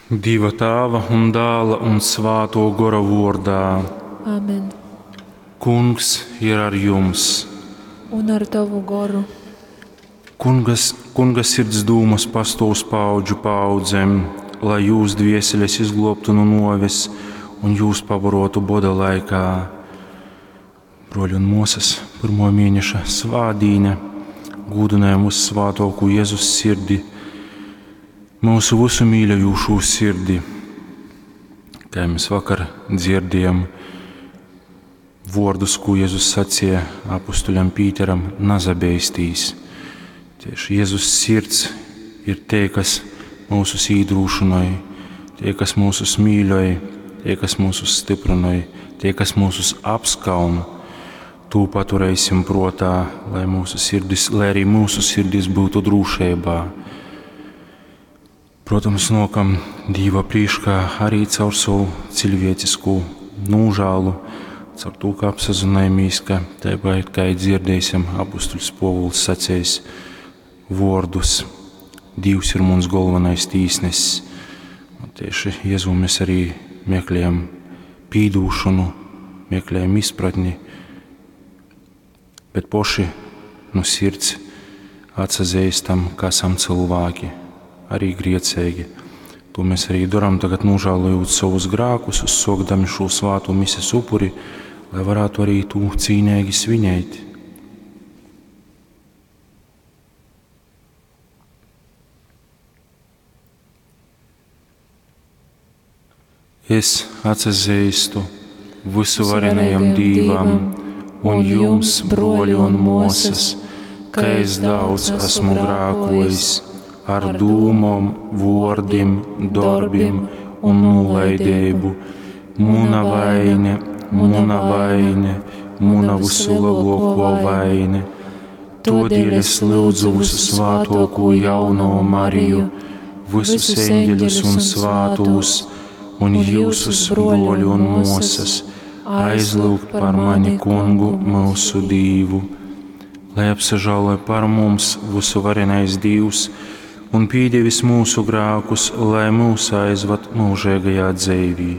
Dieva Tāva un Dāla un Svāto Gora vordā. Amen. Kungs ir ar jums. Un ar tavu goru. Kungas, kunga sirds dūmas pastāv uz paudžu paudzēm, lai jūs dvieseles izglābtu no noves un jūs pabarotu boda laikā. Broļi un māsas, pirmo mēneša svādīne, gūdinājam uz svātoku Jēzus sirdi, mūsu visu mīļojošo sirdi. Kā mēs vakar dzirdējām vārdus, ko Jēzus sacīja apustuļam Pīteram, nazabeistīs. Tieši Jēzus sirds ir tie, kas mūsus īdrūšinoja, tie, kas mūsus mīļoja, tie, kas mūsus stiprinoja, tie, kas mūsus apskauna. Tū paturēsim protā, lai, mūsu sirdis, lai arī mūsu sirdis būtu drošībā. Protams, nokam Dīva prīškā arī caur savu cilvēcisku nožēlu, caur to, ka apsazinājamies, ka tāpat kā dzirdēsim apustuļs Povuls sacējis vārdus, Dievs ir mums galvenais tīsnesis. Un tieši Jēzu mēs arī meklējam pīdūšanu, meklējam izpratni, bet poši no sirds atsazīstam, ka esam cilvēki, arī griecīgi. To mēs arī darām tagad nožēlojot savus grēkus, uzsokdami šo svāto mises upuri, lai varētu arī to cīnīgi svinēt. Es atsazīstu visuvarenajam Dīvam un jums, broļi un mosas, ka es daudz esmu grēkojis ar dūmom, vōrdim, dorbim un nolaidību. Muna vaine, muna vaine, muna visulabāko vaine. Todēļ es lūdzu visu svātoko jauno Mariju, visus eņģeļus un svātos, un jūsus broļu un mosas, aizlūgt par mani kungu mūsu Dīvu. Lai apsažāloja par mums visu varenais Dīvs un pīdevis mūsu grākus, lai mūs aizvad mūžīgajā dzīvī.